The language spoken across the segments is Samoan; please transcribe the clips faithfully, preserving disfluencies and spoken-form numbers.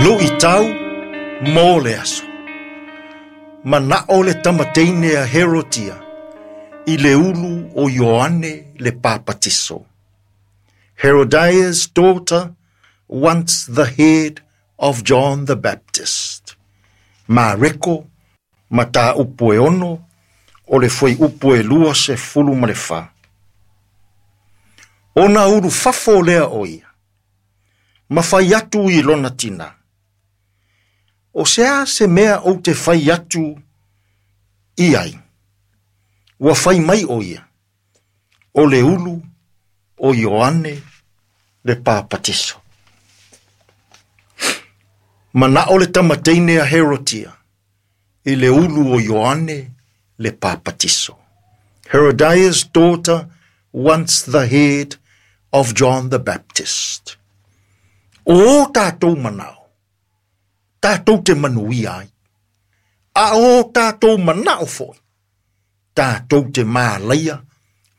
Luʻitau mo le aso. Manaʻo le tamateine a Herotia i le ulu o Ioane le Papatiso. Herodias' daughter wants the head of John the Baptist. Mareko, mataupu e ono, o le fuaiupu e lua sefulu ma le fa. Ona ulu fafo lea o ia, ma fai atu i lona tina. O se a se mea ou te fai atu i ai. Ua fai mai o ia, o le ulu o Ioane le Papatiso. Manaʻo le tamateine a Herotia i le ulu o Ioane le Papatiso. Herodias' daughter wants the head of John the Baptist. O o tātou manaʻo, tātou te manuia ai. A o tātou manaʻo foi, tātou te mālaia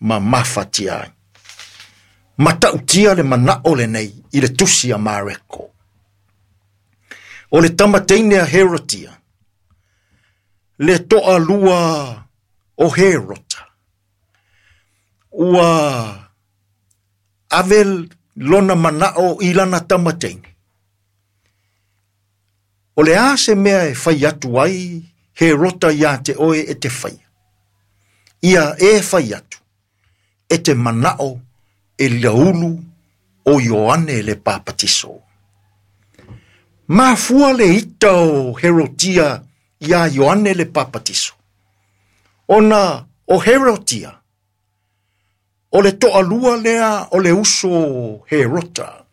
ma mafatia ai. Matautia le manaʻo lenei i le tusi a Mareko. O le tamateine a Herotia, le toalua o Herota, ua ave lona manaʻo i lana tamateine. O le a se mea e fai atu ai Herota ia te oe e te whaia. Ia e fai atu, e te manaʻo e le ulu o Ioane le Papatiso. Mafua le ita o Herotia ia Ioane le Papatiso. Ona o Herotia, o le toalua lea o le uso Herota.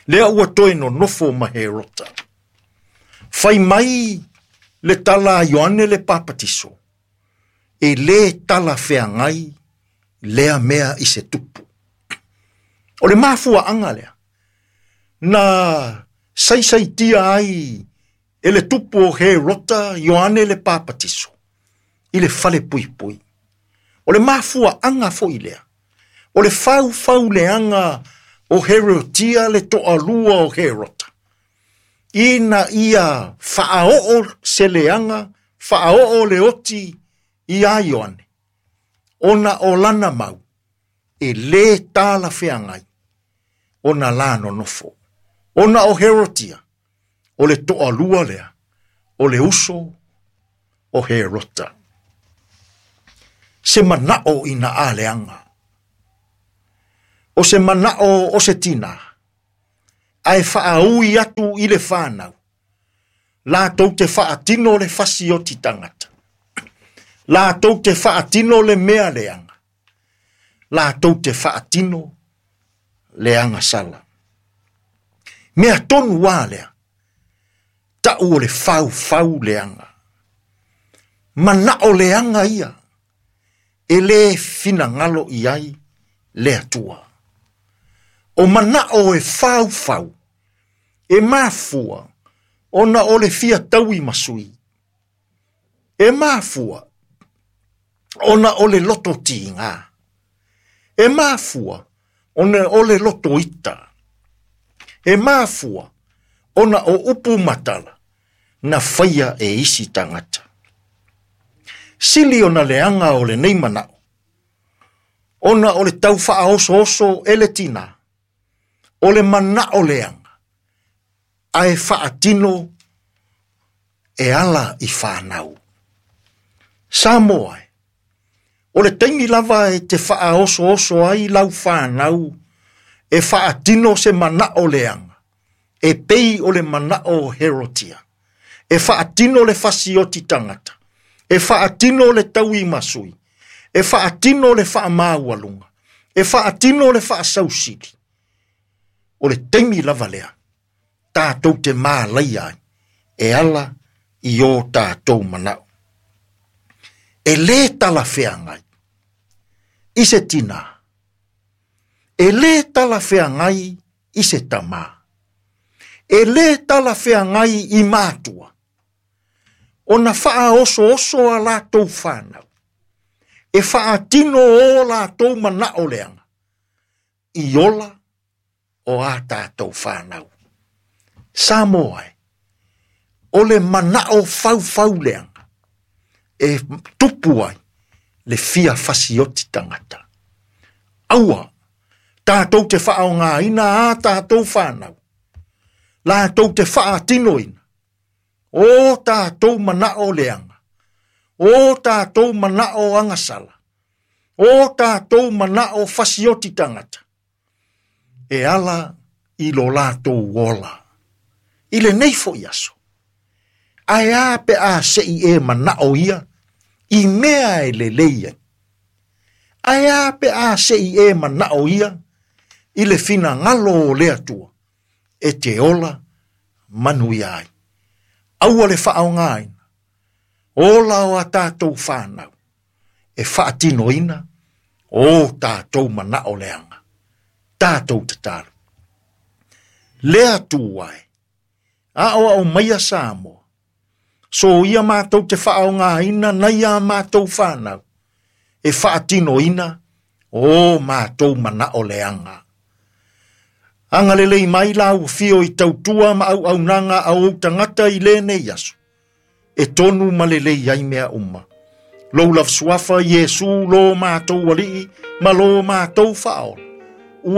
Lea ua toe nonofo ma Herota. Fai mai le tala a Ioane le Papatiso, e le tala feagai lea mea i se tupu. O le mafuaʻaga lea, na saisaitia ai e le tupu o Herota Ioane le Papatiso, i le fale puipui. O le mafuaʻaga foi lea, o le faufauleaga o Herotia le toalua o Herota. Ina ia faaoo se leaga, faaoo le oti ia Ioane. Ona o lana mau, e le tala feagai, ona la nonofo. Ona o Herotia, o le toalua lea, o le uso o Herota. Se manaʻo ina a leaga. O se manaʻo o se tina, ae faaui atu i le whānau. Lātou te faatino le fasioti tangata. Lātou te faatino le mea leaga. Lātou te faatino le agasala. Mea tonu wā lea, tau o le faufau leaga. Manaʻo leaga ia, e le finagalo i ai le Atua. O manaʻo e faufau, e mafua, ona o le fia taui masui. E mafua, ona o le loto tiga. E mafua, ona o le loto ita. E mafua, ona o upu matala, na faia e isi tangata. Sili ona leaga o lenei manaʻo, ona o le tau faaosooso e le tina, o le manaʻo leaga, ae faatino e ala i whanau. Samoa e, o le taimi lava e te faaosooso ai lau whanau, e faatino se manaʻo leaga, e pei o le manaʻo o Herotia, e faatino le fasioti tangata, e faatino le taui masui, e faatino le faamaualuga, e faatino le faasausili. O le taimi lava lea, tātou te mālaia ai, e ala i o tātou manaʻo. E le talafeagai i se tina, e le talafeagai i se tamā, e le talafeagai i mātua, ona faaosooso a latou whanau, e faatino o latou manaʻo leaga, i ola o a tātou whanau. Samoa e, o le manao faufau leaga e tupu ai le fia fasioti tagata. Aua tatou te faaaogaina a tatou fanau, latou te faatinoina o tatou manao leaga, o tatou manao agasala, o tatou manao fasioti tagata, e ala i lo latou ola. I lenei foi aso, ae a pe a sei e manao ia i mea e lelei ai. Ae a pe a sei e manao ia i le finagalo o le Atua e te ola manuia ai. Aua le faaaogaina ola o a tatou fanau e faatinoina o tatou manao leaga. Tatou tatalo. Le Atua e, aoao maia Samoa, so ia matou te faaaogaina nai a matou fanau e faatinoina o matou manao leaga. Agalelei mai lau fio i tautua ma auaunaga a ou tagata i lenei aso, e tonu ma lelei ai mea uma. Lou lava suafa Iesu lo matou alii ma lo matou faaola.